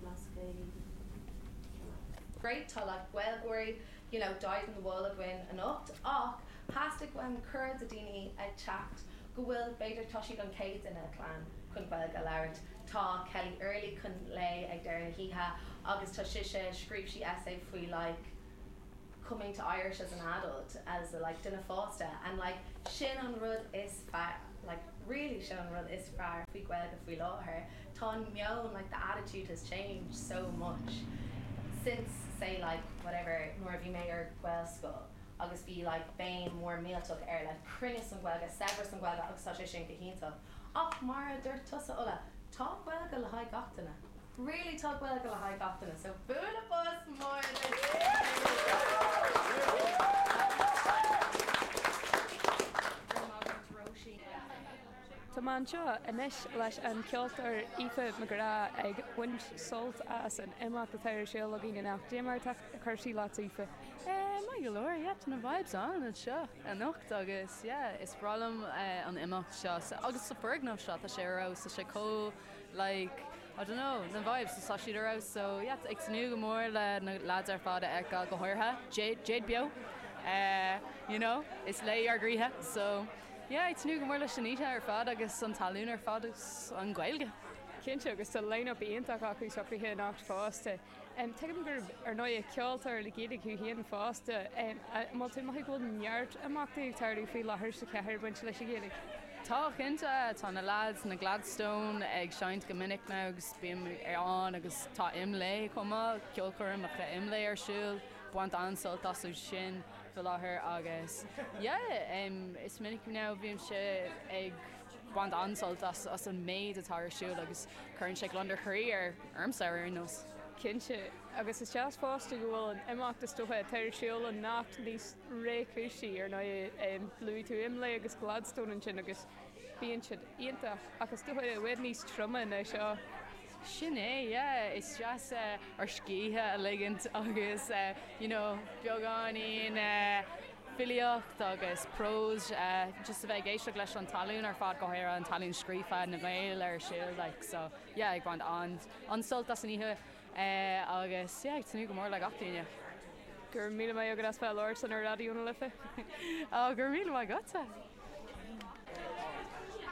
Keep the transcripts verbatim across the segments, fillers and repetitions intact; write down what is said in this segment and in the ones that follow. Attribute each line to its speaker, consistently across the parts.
Speaker 1: Blas Gaeilge.
Speaker 2: Great tá like Gaeilgeoirí you know, dyed in the wool againn anocht ach theastaigh uaim cur de daoine ag teacht go bhfuil b'fhéidir tá siad an chéad ina clann chun Gaeilge a labhairt. Tá Kelly Early chun léamh ag deireadh na hoíche agus tá sise scríobh sí essay faoi like coming to Irish as an adult as a like duine fásta and like sin an rud is fearr like really sin an rud is fearr faoi Ghaeilge faoi láthair Tá an meon like the attitude has changed so much since say like whatever nuair a bhí mé ar Ghaelscoil agus bhí like béim mór millteach ar like cruinneas an Ghaeilge saibhreas an Ghaeilge agus tá sé sin go hiontach. Ach mar a dúirt tusa Ola tá Gaeilge le haghaidh gach duine. Really tá Gaeilge le haghaidh gach duine, so bualadh bos mór
Speaker 3: Róisín. Tá mé anseo anois leis an ceoltóir Aoife McGrath ag baint sult as an imeacht atá ar siúl againn anocht. Cad é mar atá cúrsaí leat Aoife.
Speaker 4: Maith go leor yeah, tá na vibes an anseo anocht agus yeah, is breá liom uh, an imeacht seo agus sa foirgneamh seo tá sé ra sa sé có like I don't know, na vibes tá siad ra so yeah, ag tnúth go mór le na lads ar fad a fheiceáil go háirithe Jade Jade Beo uh, you know, is léi ár gcroíthe so yeah, ag tnúth go mór leis an oíche ar fad agus an talún ar fad agus an Ghaeilge.
Speaker 3: Cinnte agus tá line-up iontach acu socraithe anocht fosta. Um, Tuigim gur ar ndóigh ceoltóir le Gaeilge thú féin fosta má tú maith bhfuil neart imeachtaí ag tarlú faoi láthair sa chathair bainte leis an Ghaeilge.
Speaker 4: Tá cinnte tá na lads na Gladstone ag seinnt go minic now agus bím ar an agus tá IMLÉ chomh ceolchoirm le IMLÉ ar siúl, baint an-sult astu sin faoi láthair agus yeah, um, is minic now bhím sé ag baint an-sult as, as an méid atá ar siúl agus cuireann sé gliondar croí ar ormsa ar nós.
Speaker 3: Cinnte agus is deas fosta go bhfuil an imeacht is dócha atá ar siúl anocht níos réchúisí ar ndóigh luaigh tú IMLÉ agus Gladstone ansin agus bíonn siad iontach ach is dócha i bhfad níos troime ná seo.
Speaker 4: Sin é yeah, is deas uh, ár scíth a ligint agus uh, you know, beagáinín uh, filíocht agus prós uh, just a bheith ag éisteacht leis an talún ar fad go háirithe an talún scríofa na Gaeil ar siúl like, so yeah, ag baint an an-sult as an oíche uh, agus yeah, ag tnúth go mór le gach duine.
Speaker 3: Gur míle maith agat as bheith labhairt san ar Raidió na Life.
Speaker 4: Á gur míle maith agatsa.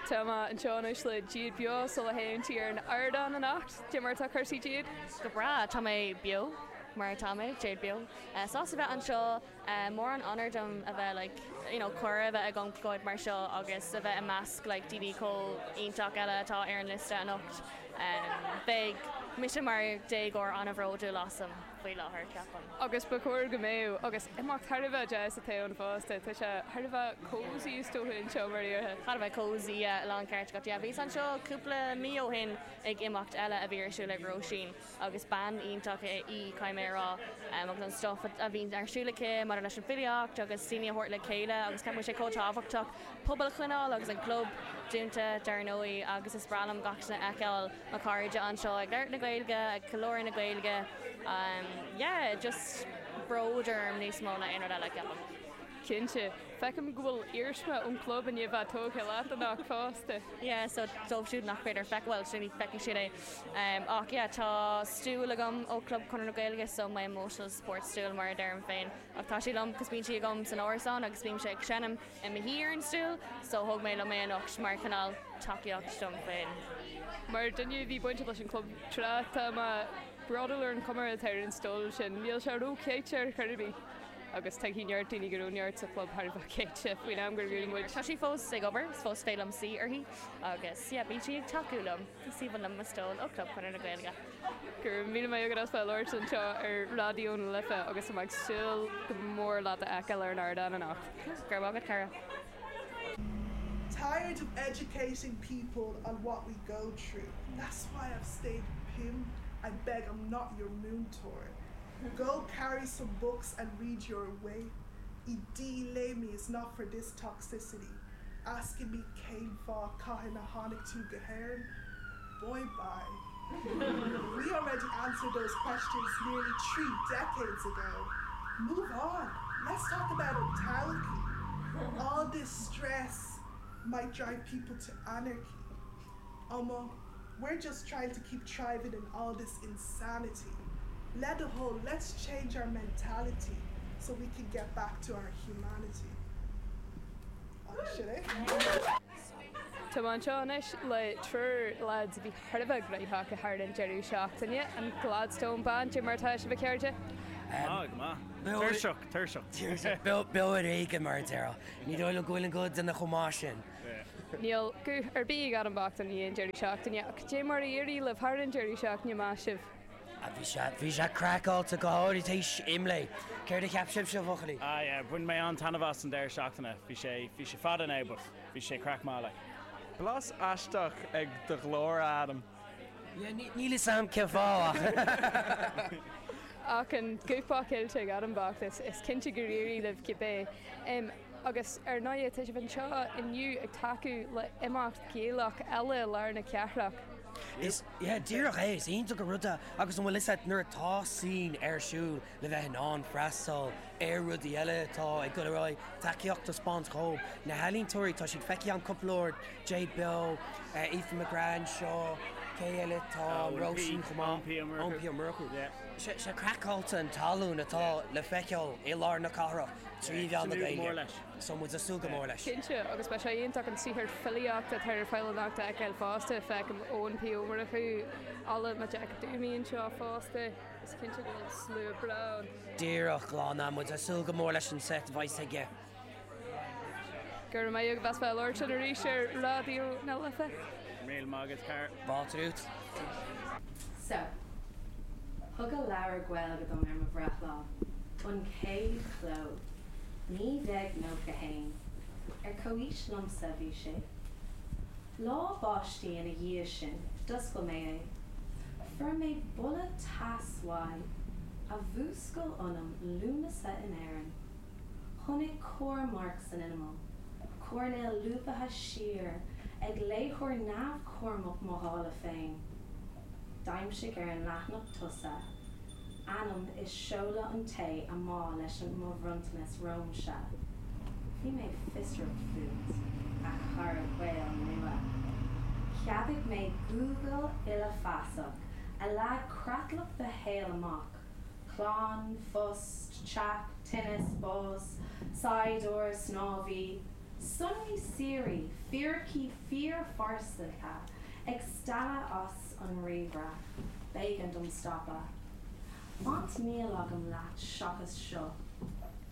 Speaker 3: Tá mé anseo anois le Jade Beo sula théann sí ar an ardán anocht, Cad é mar atá cúrsaí Jade?
Speaker 5: Go breá tá mé beo mar tá mé Jade Beo. Uh, Sásta bheith anseo uh, mór an onóir dom a bheith like, you know, cuireadh a bheith agam goid mar seo agus a bheith i measc like, daoine chomh iontach eile atá ar an liosta anocht. Um, Beidh mise mar déagóir an-bhródúil asam faoi láthair ceapaim.
Speaker 3: Agus ba chóir go mbeadh agus imeacht thar a bheith deas atá ann fosta, Tá sé thar a bheith cozy is dócha anseo mar iartha.
Speaker 5: Thar a bheith cozy lán ceart go yeah, Bhíos anseo cúpla mí ó shin ag imeacht eile a bhí ar siúl ag Róisín agus bean iontach í caiimérá um, agus an stuff a bhíonn ar siúl aici mar leis an filíocht agus daoine a thabhairt le chéile agus ceapaim sé chomh tábhachtach pobal a choinneáil agus an club dúnta dar ndóigh agus is breá liom gach a fheiceáil mo chairde anseo ag labhairt na Gaeilge ag ceiliúradh na Gaeilge um, yeah, just bród orm níos mó ná aon rud eile ceapaim.
Speaker 3: Cinnte, feicim go bhfuil iarsma ón club in bheith tógtha leat anocht fosta.
Speaker 5: Yeah, so dóibh siúd nach féidir feiceáil well sin feicfidh siad é. Um, ach yeah, tá stool agam ó Club Chonradh na Gaeilge so my emotional support stool mar a deirim féin. Ach tá sé liom cos bíonn sí agam san árasán agus bím sé ag seinm i mo shuí ar an stool, so thóg mé liom é anocht mar cineál tacaíocht dom féin.
Speaker 3: Mar duine bhí bainte leis an club tráth tá mé bródúil ar an chuma atá ar an stól sin, níl sé ró-chaite ar chor ar bith. agus tá neart daoine go neart sa club thar céite faoin am gur muid.
Speaker 5: Tá sí fós ag obair, fós féidir liom suí uirthi agus yeah, bíonn sí ag tacú liom sí liom mo stól ó Club Chonradh na Gaeilge.
Speaker 3: Gur míle maith agat as bheith labhairt anseo ar Raidió na Life agus ag súil go mór leat a fheiceáil ar an ardán anocht.
Speaker 5: Gur agat cara.
Speaker 6: Tired of educating people on what we go through. That's why I've stayed pinned. I beg I'm not your múinteoir. Go carry some books and read your way. Ìdílé mi is not for this toxicity. Asking me cén fáth cathain a tháinig tú go hÉirinn? Boy bye. we already answered those questions nearly three decades ago. Move on. Let's talk about an todhchaí. All this stress might drive people to anarchy. Ọmọ, We're just trying to keep thriving in all this insanity. Let the whole, let's change our mentality so we can get back to our humanity. Sin é.
Speaker 3: Tá mé anseo anois le triúr lads a bhí thar a bheith gnóthach thar an deireadh seachtaine, an Gladstone Band. Cad é mar atá sibh, a chairde?
Speaker 1: Ah, go maith. Tuirseach, tuirseach.
Speaker 7: Beo ar éigean mar a déarfá. Ní dóigh liom go bhfuil an guth duine chomh maith sin.
Speaker 3: Níl guth ar bith ag Adam bocht i ndiaidh an deireadh seachtaine ach cad é mar a d'éirigh libh thar an deireadh seachtaine maith sibh.
Speaker 7: Bhí sé bhí sé craiceáilte go háirithe tar éis Imlé. Céard a cheap sibhse, a bhuachaillí?
Speaker 1: Ah yeah, bhain mé an-taitneamh as an deireadh seachtaine. Bhí sé bhí sé fada now, but bhí sé craic maith like.
Speaker 8: Blas aisteach ag do ghlór Adam.
Speaker 7: Níl a fhios agam cén fáth.
Speaker 3: Ach an guth cillte ag Adam bocht is is cinnte gur éirigh libh cibé. Um, agus ar ndóigh tá sibh anseo inniu ag tacú le imeacht Gaelach eile lár na cathrach.
Speaker 7: Is yeah, díreach é is iontach an rud é agus an bhfuil fhios agat nuair atá scene ar siúl le bheith in ann freastal ar rudaí eile atá ag dul ar aghaidh tacaíocht a thaispeáint dóibh. Na healaíontóirí tá siad feicthe an cúpla uair Jade Beo, Aoife McGrath seo, cé eile tá Róisín chomh maith P Murchú. Sé craiceáilte an tallann atá le feiceáil i lár na cathrach trí mheán na Gaeilge. So muid ag súil go mór leis.
Speaker 3: Cinnte agus beidh sé iontach an saothar filíochta atá ar fáil anocht a fheiceáil fosta feicim Eoin P Ó Murchú Alla Mac Jack Dúmaí anseo fosta is cinnte go bhfuil slua breá.
Speaker 7: Díreach lána muid ag súil go mór leis an set bheidh aige.
Speaker 3: Gur mé ag bheith fe sin arís ar Raidió na Life.
Speaker 1: Míle maith agat car.
Speaker 7: Bátrút.
Speaker 2: So, thug a leabhar Gaeilge dom ar mo bhreithlá, an chéad chló, naoi déag nócha haon, ar comhaois liomsa bhí sé. Lá báistí ina dhiaidh sin, d'oscail mé é. Fuair mé boladh tais uaidh a mhúscail ionam Lúnasa in Éirinn. Chonaic comharmharc san imeall, coirnéal lúbaithe siar ag léitheoir neamhchúramach mo dhála féin. D'aimsigh ar an leathanach tosaigh, ainm is seoladh an té a mba leis an mo bhronntanas romhamsa. Bhí mé fiosrach fút, a chara Gael nua. Cheadaigh mé Google uilefheasach a leag creatlach do shaoil amach, clann, phost, teach, tinneas, bás, saighdiúir, snámhaí, sonraí síoraí, fíricí fíorphearsanta ag stealladh as an ríomhaire, b'éigean dom stopadh. Baint níl agam leat seachas seo,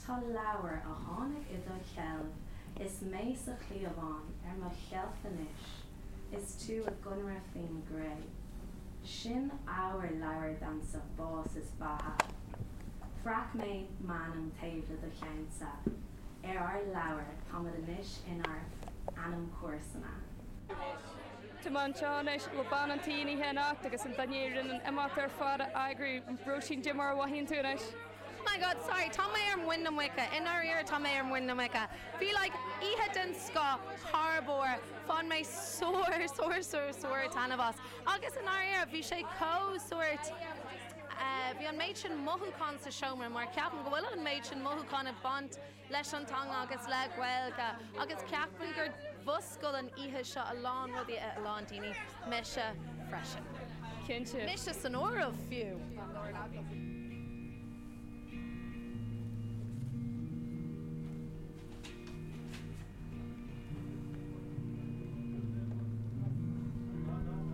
Speaker 2: Tá leabhar a tháinig i do sheilbh is mé sa chliabhán ar mo sheilf anois, is tú i gconradh faoin gcré. Sin ábhar leabhair domsa bás is beatha. Bhreac mé m'ainm taobh le do cheannsa. Ar ár leabhar táimid anois inár n-anamchomharsana.
Speaker 3: Tá mé anseo anois le bean an tí oíche anocht agus an duine a rinne an imeacht ar fad a eagrú Róisín cad é mar a mhothaíonn tú anois.
Speaker 2: My God, sorry, tá mé ar muin na muice. I ndáiríre tá mé ar muin na muice. Bhí like oíche den scoth thar barr, bhain mé sórt sórt sórt sórt taitneamh as. Agus i ndáiríre bhí sé chomh sórt Uh, bhí an méid sin mothúchán sa seomra mar ceapaim go bhfuil an méid sin mothúchán ag baint leis an teanga agus le Gaeilge agus ceapaim gur mhúscail an oíche seo a lán rudaí a lán daoine mise freisin.
Speaker 3: Cinnte.
Speaker 2: Mise san áireamh fiú.